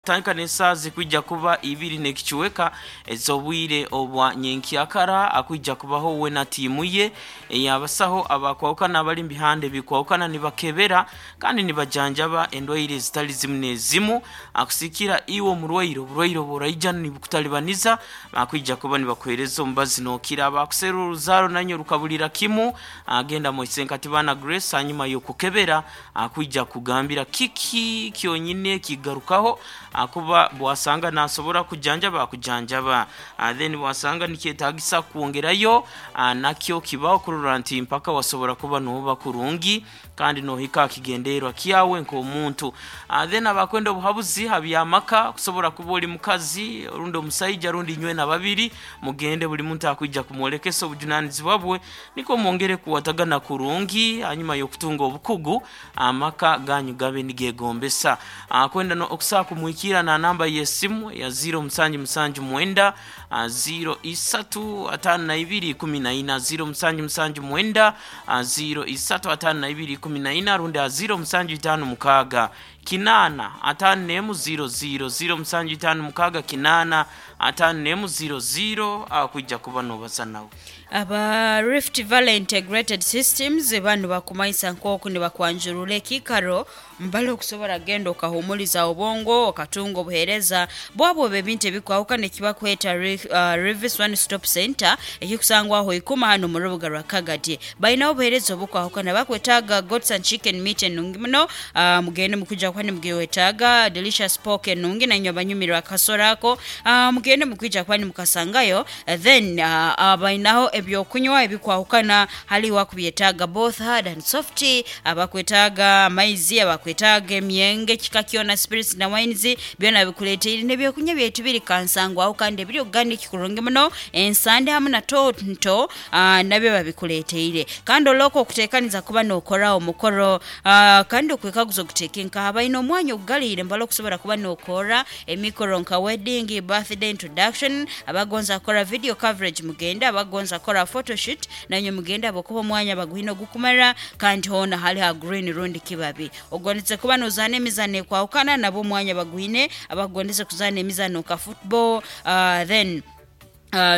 Kutandika n'esaaha zirikwija kuba ibiri n'ekicweka ez'obwire obwa nyenkyakara, akwija kubaho we na tiimu ye ey'abasaho abakwahukana abari omu bihanda ebikwahukana nibakebera kandi nibajanjaba endwaire ezitari zimwe n'ezimu. Akusikira iwe omurwaire, oburwaire obu oraija nibukutaribaniza, bakwija kuba nibakuheereza omubazi nookira. Abakuserura oruzaaro nainywe rukaburira kimu, genda moise nka Tibana Grace hanyuma y'okukebera akwija kukugambira kiki kyonyini ekigarukaho ahakuba bwasanga nasobora kujanjaba akujanjaba then bwasanga nikyetagisa kwongerayo nakyo kibaho kurora nti mpaka wasobora kuba noba kurungi kandi nohika aha kigendererwa kyawe nk'omuntu. Then abakwenda obuhabuzi ha by'amaka kusobora kuba ori mukazi rundi omusaija rundi inywena babiri mugende buri muntu akwija kumworekesa obujunanizibwa bwe Nikwo mwongere kukwatagana kurungi hanyuma y'okutunga obukugu, amaka ganyu gabe nigegombesa. Kwenda okusobola kumwikiira na namba y'esimu ya ziiro musanju musanju mwenda, ziiro isatu ataano na ibiri ikumi na ina, ziiro musanju musanju mwenda, ziiro isatu ataano na ibiri ikumi na ina rundi aha ziiro musanju itaano mukaaga kinaana ataano n'emu ziiro ziiro, ziiro musanju itaano mukaaga kinaana ataano n'emu ziiro ziiro, akwija kuba nobaza nawe. Aba Rift Valley Integrated Systems banu bakumanyisa nk'oku nibakwanjurura ekiikaro mbali okusobora genda okahumuliza obwongo okatunga obuheereza bwabo obw'ebintu ebikwahukana ekibakweta Rivis One Stop Centre ekikusangwaho Ikuma hanu omu rubuga rwa Kagadi. Bainaho obuheereza obukwahukana bakwetaaga Goats and Chicken meat enungi muno mugende mukwija kuba nimugwetaaga Delicious Pork enungi nainywe abanyumirwa akasoro ako mugende mukwija kuba nimukasangayo. Then abainaho ebyokunywa ebikwahukana hali wakubyetaaga both hard and soft, abakwetaaga amaizi, abakwetaaga emyenge kika kyona spirits na wines byona bikuleteire nebyokunywa byaitu biri kansangwaho kandi ebiri organic kurungi muno, ensande hamu na tonto nabyo babikuleteire. Kandi olwoka okutekaniza kuba nokora omukoro kandi okwekaguza oguteeke nkaha, baine omwanya ogugaliire mbali okusobora kuba nokora Emikoro nka wedding, birthday, introduction, abagonza kukora video coverage mugende, abagonza kukora photoshoot nainywe mugende habwokuba omwanya baguhine ogukumara kandi hoona hali ha green rundi kibabi. Ogondeze kuba nozaana emizaano ekwahukana nabwo omwanya baguhine, abakugondeze kuzaana emizaano nka football then.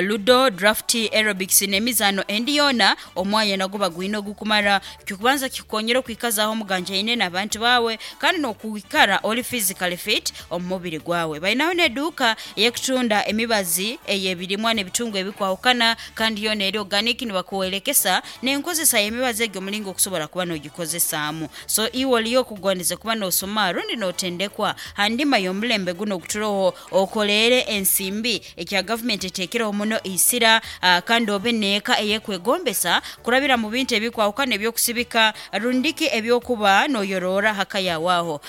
Ludo, draft, aerobics n'emizaano endi yoona, omwanya nagwo bagwine ogukumara. Ekyokubanza kikukonyera okwikazaaho omuganjaine n'abantu baawe kandi n'okwikara ori physically fit omu mubiri gwawe. Bainaho n'eduuka ey'ekutunda emibazi ey'ebirimwa n'ebitungwa ebikwahukana kandi yoona eri organic nibakuwerekesa n'enkozesa y'emibazi egi omulingo okusobora kuba n'ogikozesaamu. So iwe oriyo okugondeze kuba n'osoma rundi n'otendekwa ha ndima y'omulembe gunu oguturoho, okoleere ensimbi Ekya gavumenti eteekireho muno eisira kandi obe n'eka ey'ekwegombesa kurabira mu bintu ebikwahukana eby'okusibika rundiki eby'okuba n'oyoroora ha ka yaawe aho.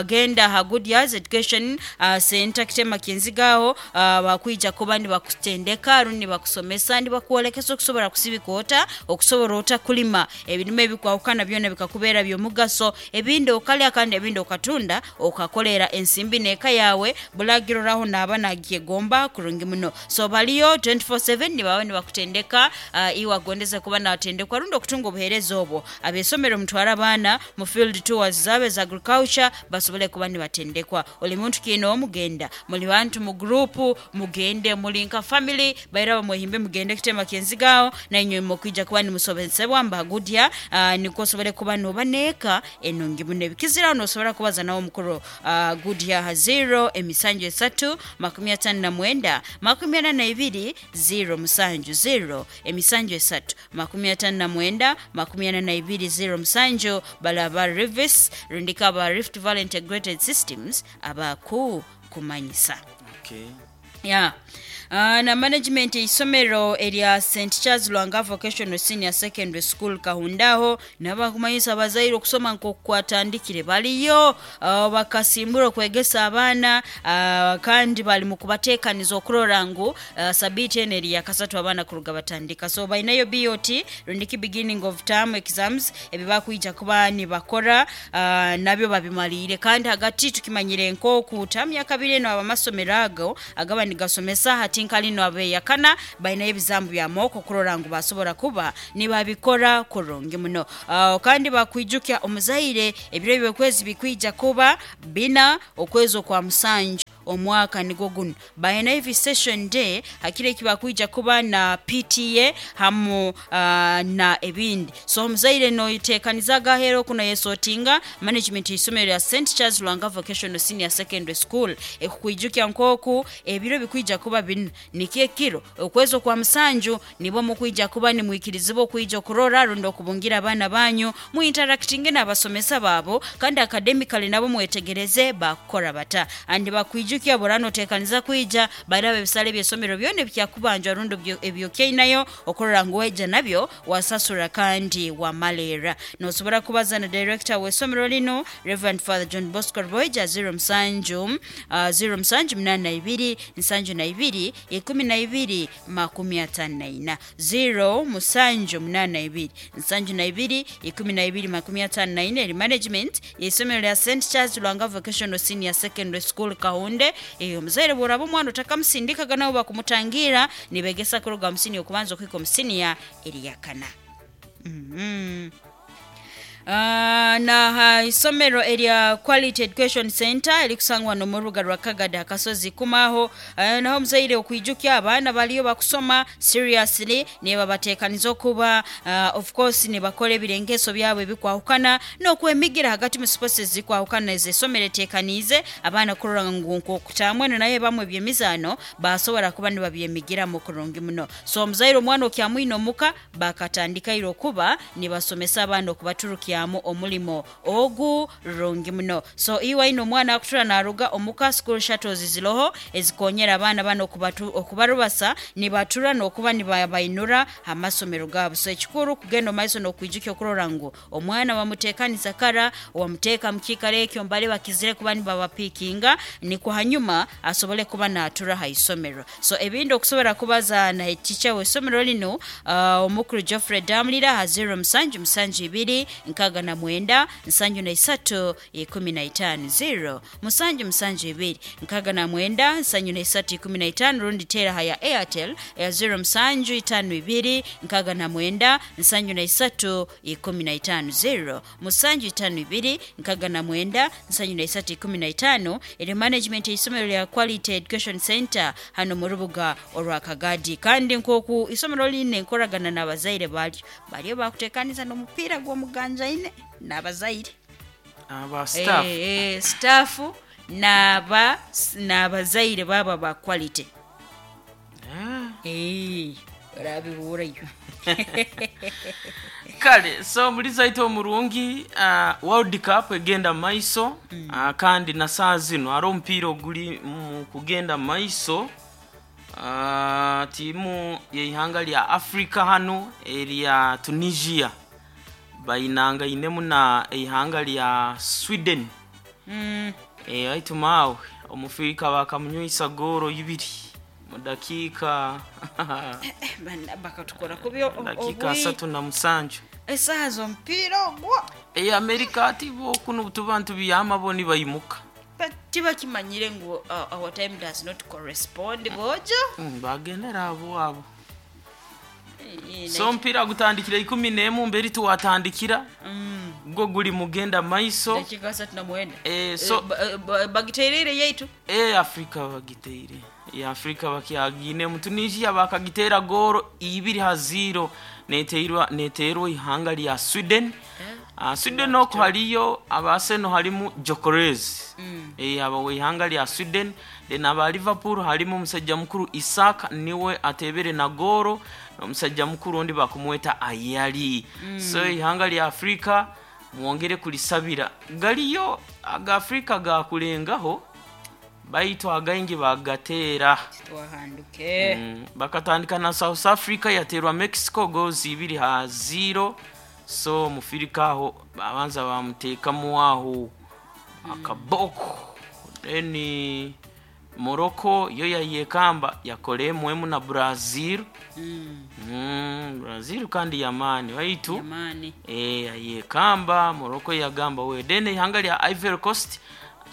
Genda aha Good Years Education Centre Kitema Kinziga aho bakwija kuba nibakutendeka rundi nibakusomesa nibakwolekesa okusobora kusibika ota, okusobora ota kulima ebirime ebikwahukana byona bikakubeera by'omugaso ebindi okalya kandi ebindi okatunda okakoleera ensimbi n'eka yaawe. Bulagiroraho naaba nagyegomba kurungi muno. So baliyo 24/7 nibaba nibakutendeka iwe agondeze kuba natendekwa rundi okutunga obuhereza obwo. Abesomero mutware abaana mu field tours zaabo eza agriculture basobole kuba nibatendekwa. Oli muntu kinoomu genda, muli bantu mu group mugende, muli nka family bairaba mwehimbe mugende kutema kenzigo aho nainywe mukwija kuba nimusobesebwa mbagudya nikwo osobole kuba noba neeka enungi muno. Ebikiziraho nosobora kubaza nawe omukuru Good aha ziiro emisanju esatu, 59, 42, 07, ziiro emisanju esatu, 59, 42, 07, bale aba Rivis rundiki aba Rift Valley Integrated Systems abaku kumanyisa. Okay. Yeah. Na management eisomero erya St Charles Lwanga Vocational Senior Secondary School Kahunda aho nabo bakumanyisa abazaire okusoma nkoku kwatandikire baliyo bakasimbura okwegesa abaana kandi bali mukubatekaniza okurora ngu sabiiti eno eri yakasatu abaana kuruga batandika so bainayo BOT rundiki beginning of term exams ebibakwija kuba nibakora nabyo babimaliire kandi hagati tukimanyire nkoku term yakabiri eno abamasomero ago agaba. nigasomesa hati nka lino abeyakana bainayo ebizambu bya mooko kurora ngu basobora kuba nibabikora kurungi muno. Kandi bakwijukya omuzaire ebiro ebyokwezi bikwija kuba bina okwezi okwa musanju omwaka nigwo guno bainayo visession day hakiro eki bakwija kuba na PTA hamu na ebindi. So omuzaire noiteekaniza agahera oku noyesotinga management y'isomero lya St Charles Lwanga Vocational Senior Secondary School ekukwijukya nk'oku ebiro bikwija kuba bina nikyo ekiro okwezi okwa musanju nibwo mukwija kuba nimwikirizibwa okwija okurora rundi okubungira abaana banyu muinteractinge n'abasomesa baabo kandi academically nabo mwetegereze bakukora bata. Andi bakwijukya burano oteekaniza kwija baraba ebisale by'esomero byona ebyakubanjwa rundi ebyokyainayo okurora ngu weija nabyo wasasura kandi wamaleera. Nosobora kubaza na director w'esomero lino Reverend Father John Bosco Rwoija 07 07 82 72 12 54 0 musanju 82 72 12 54 eri management y'isomero lya St Charles Lwanga Vocational Senior Secondary School Kahunde. Omuzaire bworaba omwana otakamusindikaga nabo bakumutangira nibegesa kuruga musini okubanza okuhika omusiniya eriyakana. Na ha isomero erya Quality Education Center erikusangwa n'omurubuga rwa Kagada akasozi kumaho, naho omuzaire okwijukya abaana baliyo bakusoma seriously nibabateekaniza okuba of course nibakora ebirengeso byabo ebikwahukana n'okwemigira hagati mu sports ezikwahukana ez'esomero eteekaniize abaana kurora ngu nk'okutaamweno naye bamwe eby'emizaano basobora kuba nibabyemigiramu kurungi muno. So omuzaire omwana okyamwine omuka bakatandikaire okuba nibasomesa abaana okubaturukyamu omulimo ogu rungi muno. So iwe aine omwana akutura naruga omuka, school shuttles ziroho ezikonyera abaana bano okubarubasa nibatura n'okuba nibabainura amasomero gaabo. So ekikuru kugenda omu maiso n'okwijukya okurora ngu omwana wamuteekaniza kara, wamuteeka mu kiikaro ekyo mbali bakizire kuba nibabapiikinga nikwo hanyuma asobole kuba naatura ha isomero. So ebindi okusobora kubaza na teacher w'isomero lino omukuru Geoffrey Damulira ha 0 musanju musanju ibiri nkaaga na mwenda nsanju na isatu ikumi na itaano 0 musanju musanju ibiri nkaaga na mwenda nsanju na isatu ikumi na itaano rundi teera ha ya Airtel ya 0 musanju itaano ibiri nkaaga na mwenda nsanju na isatu ikumi na itaano 0 musanju itaano ibiri nkaaga na mwenda nsanju na isatu ikumi na itaano eri management y'isomero lya Quality Education Center hano mu rubuga orwa Kagadi. Kandi nk'oku isomero line enkoragana n'abazaire baryo bariyo bakuteekaniza n'omupiira gw'omuganjaine n'abazaire aba staff. Staff n'aba n'abazaire baba ba Quality. Orabihurayo. Kale so muliza aitu omurungi, World Cup egenda maiso, kandi na saa zino hariho omupiira oguri mu kugenda maiso. Tiimu y'eihanga lya Africa hanu erya Tunisia bainangainemu na eihanga lya Sweden. Aitu maawe omufirika bakamunywisa goolo ibiri mu dakiika Bana bakatukora kubi dakiika 37. Esaaha z'omupiira ogwo. Amerika ati bo kunu tuba nitubyama bo nibaimuka. But tibakimanyire ngu our time does not correspond bojo. Bagendera abo abo. So omupiira gutandikira 11 mberi tuwatandikira gwo guri mugenda maiso. Dakika 39. So Bagiteirire yaitu. Afrika bagiteire. Afrika bakyagine mu Tunisia bakagitera goolo 2-0 neteirwa ihanga lya Sweden. Sweden oko haliyo abaseno halimu Gyökeres. Aba w'ihanga lya Sweden. Then aba Liverpool halimu omusajja mukuru Isak niwe atebere na goolo n'omusajja mukuru ondi bakumweta Ayali. So ihanga lya Afrika mwongere kulisabira. Galiyo aga Afrika gakulengaho baitu againgi bagateera. Twahanduke. Bakatandika na South Africa yaterwa Mexico goals 2-0. So mufirika aho babanza bamuteekamu aho akaboko. Then Morocco yo yayekamba yakora emwemu na Brazil. Brazil kandi yamaani baitu Yamaani. Yayekamba Morocco yagamba we. Then ihanga lya Ivory Coast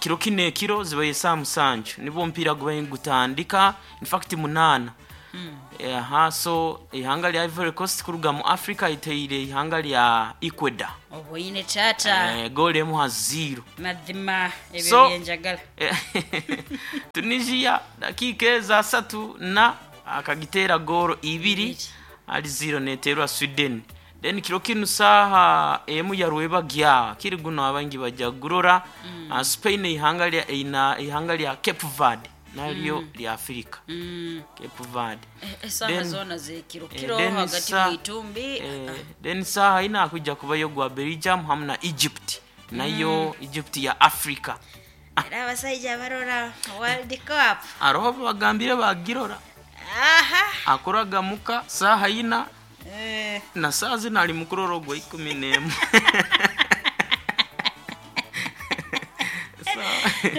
Kiro kinu ekiro zibaire esaaha musanju nibwo omupiira gubaire nigutandika, in fact munaana. Aha, so eihanga rya Ivory Coast kuruga mu Africa riteire eihanga rya Ecuador Oboine taata. Goolo emu ha ziiro. Mazima ebyo So byenjagala. Tunisia dakiika ezo asatu na akagiteera goolo ibiri Ibiri. ahari ziiro neteerwa Sweden. Then kiro kinu saaha emu ya rwebagya kiri guno abaingi baja kugurora Spain eihanga rya eina eihanga rya Cape Verde naryo rya Africa. Cape Verde. Esaaha Then zoona z'ekiro kiro then hagati sa mu itumbi. then saaha ina hakwija kubayo ogwa Belgium hamu na Egypt nayo Egypt ya Africa. Era abasaija abarora World Cup. Haroho ababagambire bagirora. Aha. Akoraga muka saaha ina Eh. na saaha zinu ali mukurora ogwa 11.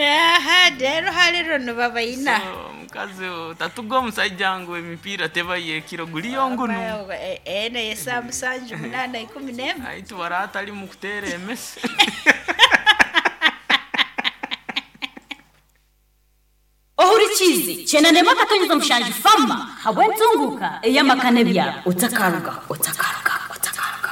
Aha, rero hali runo babaina. So, omukazi tatuga omusaija ngu emipiira teba y'ekiro guriyo ngunu. Ene y'esaaha musanju munaana 11. Aitu baraba atari mukuteera emese. Ohurikiize kyenda akatonyeza mushanju fama habw'entunguka ey'amaka n'ebyaro otakaruga otakaruga otakaruga.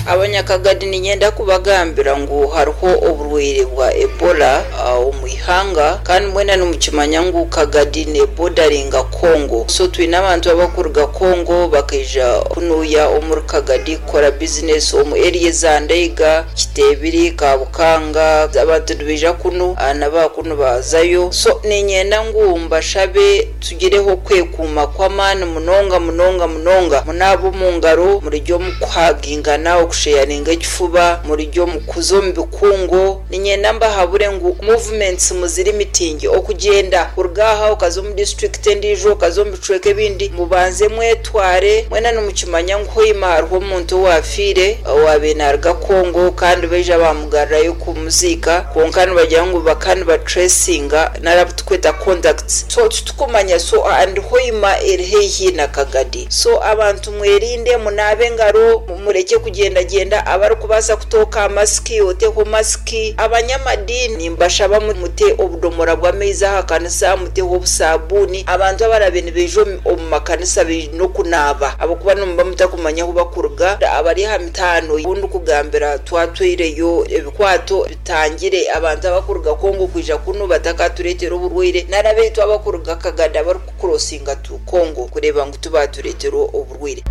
Abanyakagadi niinyenda kubagambira ngu hariho oburwaire bwa Ebola omu ihanga kandi mwena nimukimanya ngu Kagadi neebodaringa Congo. So twine abantu abarikuruga Congo bakaija kunuuya omuri Kagadi kukora bizinesi omu eriya eza Ndeiga, Kiteebiri, Kabukanga, abantu nibaija kunu na kunu bazayo. So niinyenda ngu mbashabe tugireho okwekuuma kw'amaani munonga munonga munonga. Munaabe omu ngaro, murye omu kuhagingana, okusheyaringa ekifuba, murye omu kuza omu bikungu. Niinyenda mbahabure ngu movements muzirimitinge okugyenda kuruga aha okaza omu disiturikiti endiijo okaza omu bicweka ebindi mubanze mwetware mwena nimukimanya ngu hoima hariho omuntu owaafiire owaabaire naaruga Congo kandi baija baamugarurayo kumuziika kwonka nibagira ngu bakaba nibatracinga nari abu turikweta contacts so titukumanya so and hoima eri haihi na Kagadi so abantu mwerinde munaabe engaro murekye kugyendagyenda abarikubaasa kutooka aha masiki oteho masiki abanyamadiini nimbashaba mute obudomora bw'amaizi aha kanisa muteho obusabuuni abantu abarabe nibaija omu makanisa baine okunaaba ahabw'okuba nimuba mutakumanya ahu bakuruga abari aha mitaano obu ndikugambira twatwireyo ebikwato bitangire abantu abakuruga Congo kwija kunu batakatureetera oburwaire nari abaitu abakuruga Kagadi abarikukurosinga tu Congo kureeba ngu tibatureetera oburwaire.